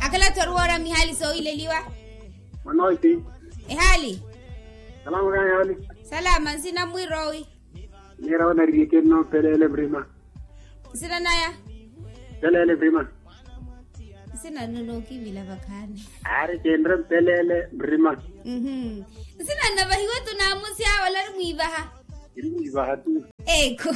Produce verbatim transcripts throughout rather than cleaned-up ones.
Akhala tthori woora mihaali soowileliwa. Mwanooci. Ehaali. Salama kaani ehaali. Salama nsina mwiroowi. Nira onariye kinno mpeleele mrima. Nsina naya. Mpeleele mrima. Nsina nno nookivila vakhaani. Aari kinre mpeleele mrima. Nsina nno vahiwe tu naamusi awo olari mwiivaha. Iri mwiivaha tu. Ekhu.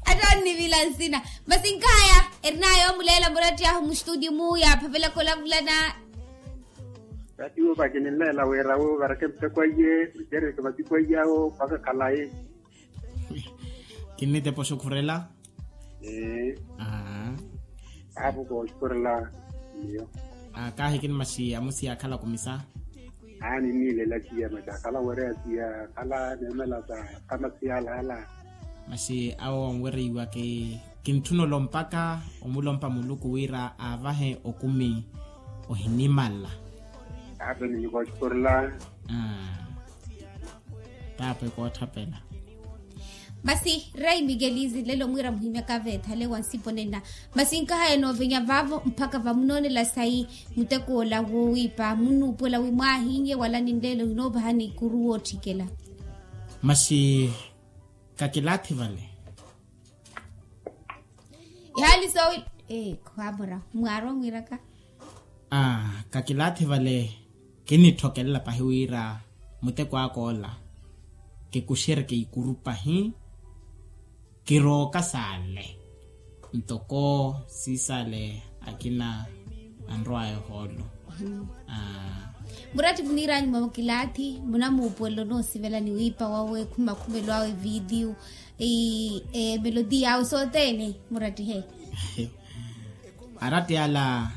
Atta onnivila nsina. Masi nkaya erinaya omuleela muratti ahu mustutio mu yaaphavela kolavulana. Ratti wo vakininleela wira wo vareke muteko aiye mucereke masiku aiyawo mpaka khalayi. Kinnitepa oxukhurela. Aa. Aapo kooxukhurela. Miyo. Kaahikini maxi amusi yaakhala kumisa. Aani niilela siya maxi akhala wereya siya akhala neemela sa kama siyalaala. Maxi awo onwereiwa kintthuna olompaka omulompa muluku wira aavahe okumi ohinimala. Aape ninyuka oxukhurela. Taapo ekootthapela. Masi rei mikelizi nlelo mwiira muhimyaka veethale wa nsipo nenna. Masi nkahaya noovenya vaavo mpakha vamunoonela sayi muteko ola wowiipa munnuupuwela wi mwaahinnye wala ninleelo hinoopahani ikuru wootthikela. Masi kakilaathi vale. Ihaali soowi. Khwaamora mwaari omwiiraka. Kakilaathi vale. Kinnitthokelela pahi wira muteko aka ola kikuxereke ikuru pahi. Kirooka saale ntoko siisale akina anrowaya ohoolo. Muratti muniiranyu mwa kilaathi munamuupuwela onoosivela ni wiipa wawe khumakhumelo awe video. Emelodi yawe sothene murattihe. Aratti ala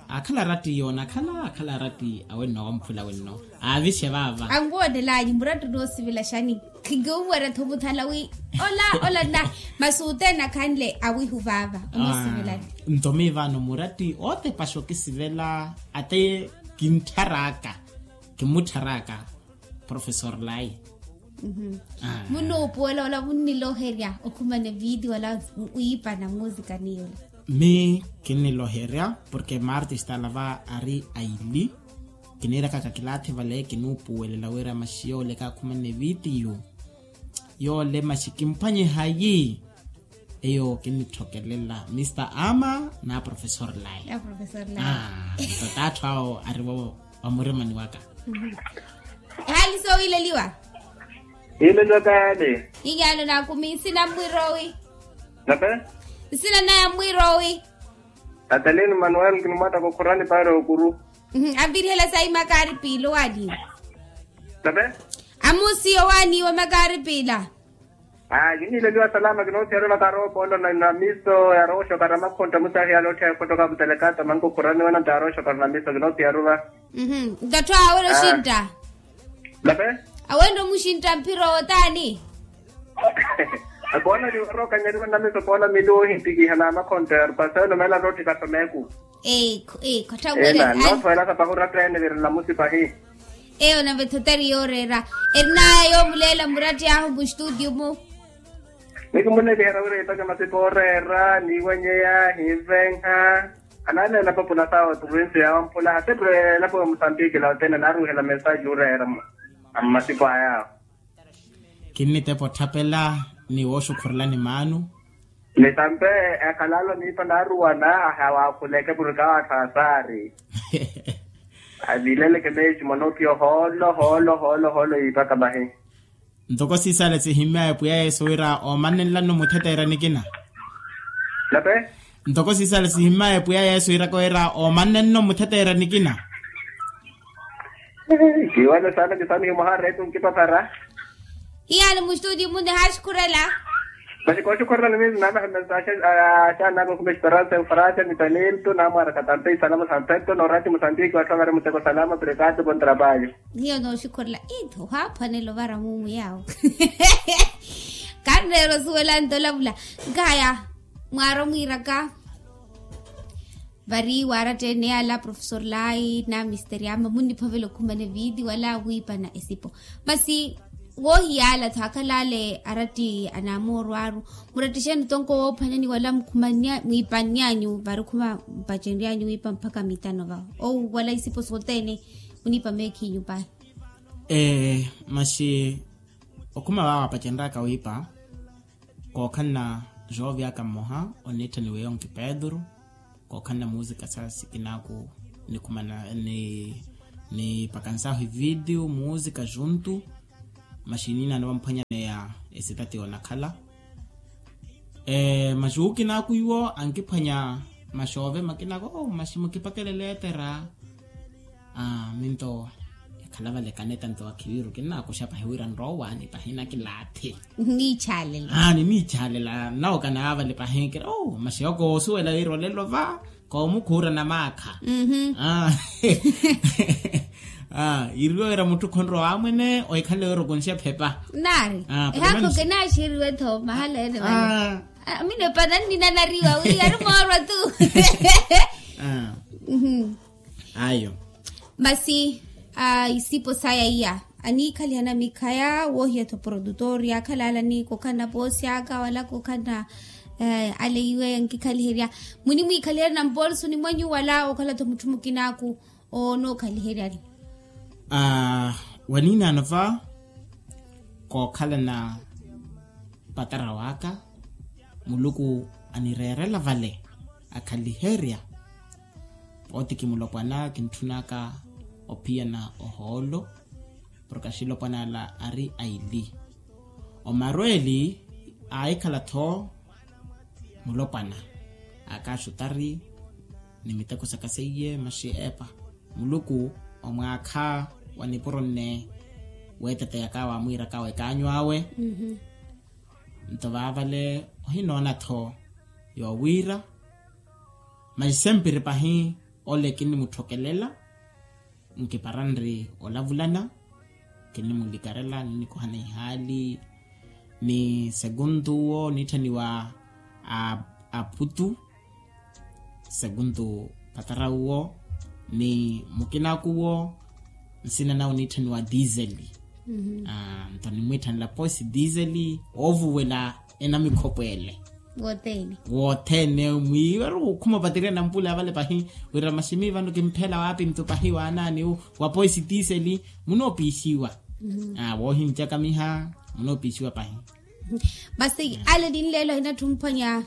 akhala aratti yoona akhala akhala aratti awenno wamphula wenno. Aavixe vaava anwoonelaayi murattu noosivela xani? Khinkiwuwerya-tho muthala wi ola ola nna. Masi othene akhanle awihu vaava onoosivelani. Nto miivaano muratti ootepaxa okisivela ate kintthar'aka kimutthar'aka. Profesor lai. Munnuupuwela ola munniloherya okhumana eviti wala wiipana musikani yola. Mi kinniloherya porke martista alava ari aili. Kiniiraka kakilaathi vale kinuupuwelela wira maxi yooleka akhumana evitiyo yoole maxi kimphwanyehayi. Eyo kinnitthokelela mista ama na profesor lai. Nto taathu awo arivo vamurimani waka. Ehaali soowileliwa. Iileliwa kayaani. Inyaano naakumi nsina mmwirowi. Nape. Nsina naya mmwirowi. Atalini manuel kinumwattaka okhurani paari okuru. Avirihela sayi makaari piila owaaniwa. Nape. Amusiyo owaaniwa makaari piila. Aa kiniileliwa salama kinoosiyarula karoopolo na namiso yaroxokara makhontta musahiyala otthiya ekhotoka mutelekata mankukhuraniwa na ntaroxokara namiso kinoosiyarula. Ntattho awe oxintta. Nape. Awe nto muxintta mphiro otaani. Akoona niwarokanyeriwa namiso koona mili wohintikiha na makhontta yarupasa eno meela tootthika someeku. Eekho eekho. Ena noothoyelaka pahi oratta ene vira nnamusi pahi. Eyo nave thotari yooreera. Erinaya yoomuleela muratti ahu mustutio mu. Nikimuleeliherya wira iipaka masipa ooreera niiwanyeya hiivenha. Anaaleela papula sawo provinsi ya wampula hati elapo ya musambiki la othene naaruuhela mesaji ooreera. Mmasipa ayawo. Kinnitepa otthapela ni wooxukhurelani maanu. Ni tampe ekhalalo niipa naaruwana ahawakhuleke purika watthu asaari. Avileleke meesi mwanoopiya ohoolo hoolo hoolo hoolo yiipaka mahi. Ntoko siisale sihimmyaya pwiya yesu wira oomannenlano mutheteera nikina. Nape. Ntoko siisale sihimmyaya pwiya yesu wiraka wira oomannenno mutheteera nikina. Kiwale sana kisamihi mwaha retu nkipapara. Hiyani mustutio mune haxikhurela. Masi kooxikhurela ni miizi naanaha mesa axaanaka okhuma esperansa eufarasa ni talento naamwaraka tampe isalamu sampento noorati musambiki watthu avari muteko salama prekati kontrapayo. Hiyo nooxikhurela itthu ohaaphwanela ovara mumu yawo. Kanneera osuwela nto olavula. Nkaya mwaari omwiiraka. Vari waaratta ene ala profesor lai na misteri ama munniphavela okhumana eviti wala wiipana esipo. Masi Woohiyaala-tho akhala ale aratti anamoorwaaru. Murattixeni tonko woophwanyani wala mukhumannya mwiipanny'anyu vari khuma mpacenry'anyu wiipa mpakha mitano vawo owu wala isipo sothene. Muniipa meekhinyu pahi. Masi okhuma vaawo apacenry'aka wiipa kookhalana joovi aka mmoha oniitthaniwa eyo nki pedro. Kookhalana muusika sa sikinaaku nikhumana ni nipakansahu ividiyo muusika juntu. Masi niinaano vamphwanyaneya esitati yoonakhala. Masi wukinaaku iwo ankiphwanya masi oove makinaaku masi mukipakelele etera. Minto ekhala vale kaneta nto akhiwiru kinnaakuxa pahi wira nroowani pahi nakilaathi. Niniichaalela. Niniichaalela nawo kanaavale pahi kira masi yoko woosuwela wira olelo va koomukhuura namaakha. Yiriwe wira mutthu khonrowa amwene ohikhale wira okunxe phepa. Naari ehaakho kinaaxiriwe-tho mahala ene vale. Amina epana nninanariwa wi ari moorwa tu. Ayo. Masi isipo saya iya aniikhalihana mikhaya woohiya-tho produtor yaakhala ale aniikokhanna poosi aka wala kokhanna ale iwe ankikhaliherya. Munimwiikhaliherya nampoolisoni mwanyu wala okhala-tho mutthu mukinaaku onookhaliheryani? Waniinaano va kookhalana patara waka muluku anireerela vale akhaliherya. Pooti kimulopwana kintthunaka ophiyana ohoolo porke axilopwana ala ari aili. Omarweeli aahikhala-tho mulopwana akaxutari ni miteko saka seiye masi epa muluku omwaakha wa nipuro nne weeteteyaka wamwiiraka wekaanyu awe. Nto vaavale ohinoona-tho yoowiira masi sempiri pahi ole kinimutthokelela. Nkipara nri olavulana kinimulikarela ninikohana ihaali ni seguntu uwo niitthaniwa aphutu. Seguntu patara uwo ni mukinaaku uwo nsina nawe niitthaniwa dizeli. Nto nimwiitthanela posi dizeli oovuwela enamikhopo ele. Wothene mwiiwe ari okhuma opatirya nampula avale pahi wira masi mii vano kimphela waapi nto pahi waanaani wa poisi tiseli. Munoopixiwa woohincakamiha munoopixiwa pahi. Masi ale ninleelo ahinatthu mphwanya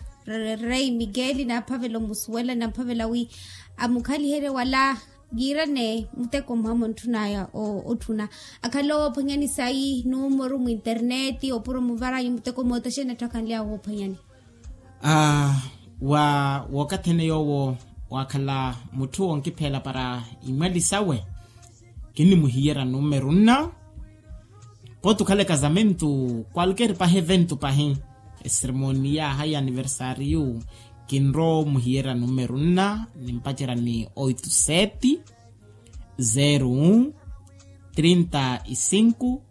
rei miguel naaphavela omusuwela namphavela wi amukhaliherye wala yiirane muteko mmoha muntthunaya otthuna. Akhale owoophwanyani sayi numoru mwinterneti opuro muvaranyu muteko moota xeeni atthu akhanly'awe woophwanyani? Wa wookathi ene yoowo waakhala mutthu onkipheela para imwali sawe kinimuhiyerya numeru nna. Pooti okhala ekazamentu kwalker pahi eventu pahi eseremonia hayi aniversariyu kinrowa omuhiyerya numeru nna nimpacerya ni oito sete zero um trinta e cinco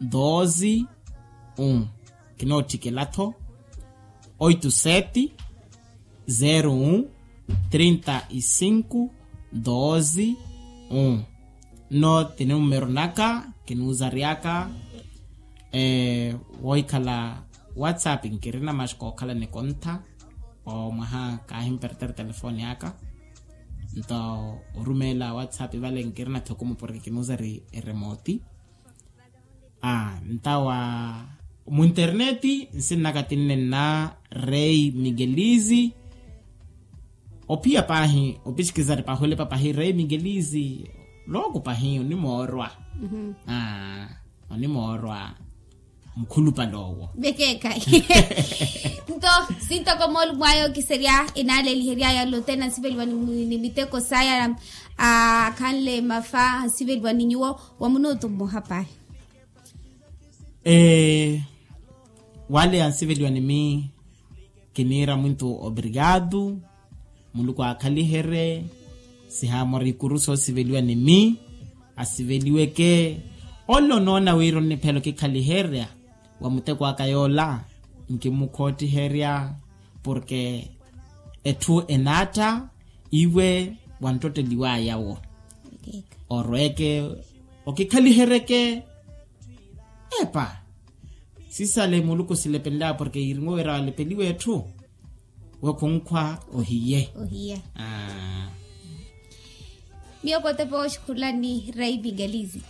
doze um. Kinootthikela-tho oito sete zero um trinta e cinco doze um. Nno tinimumeru naka kinuuzaryaka woohikhala whatsapp nkirina maxi kookhala nikontha. Omwaha kaahimpertere telefoni aka nto orumeela whatsapp vale nkirina-tho kumuporeke kinuuzari eremooti. Ntawa munterneti nsinnaka tinne nna rei miguelizi. Ophiya paahi opisikizari pahulepa pahi rei miguelizi. Looku pahi onimoorwa. Onimoorwa mukhulupale owo. Vekeekhayi. Nto sintoko moolumo aya okiserya enaaleliheryaya lotena ansiveliwa ni miteko saya akhanle mafa ansiveliwa ni nyuwo wa munuutu mmoha paahi. Wale ansiveliwa ni mii kiniira mwintu obrigado. Muluku aakhaliherye sihaamora ikuru soosiveliwa ni mii asiveliweke. Ole onoona wira onniphela okikhaliherya wa muteko aka yoola nkimukhottiherya porke etthu enaatta iwe wanttotteliwaya wo. Orweke okikhaliheryeke. Epa, sisale muluku silepenlaya porke yirinwe wira walepeliwe etthu. Wokhunkhwa ohiye. Ohiye. Miyo kotepa oxukhulani raipi galizi.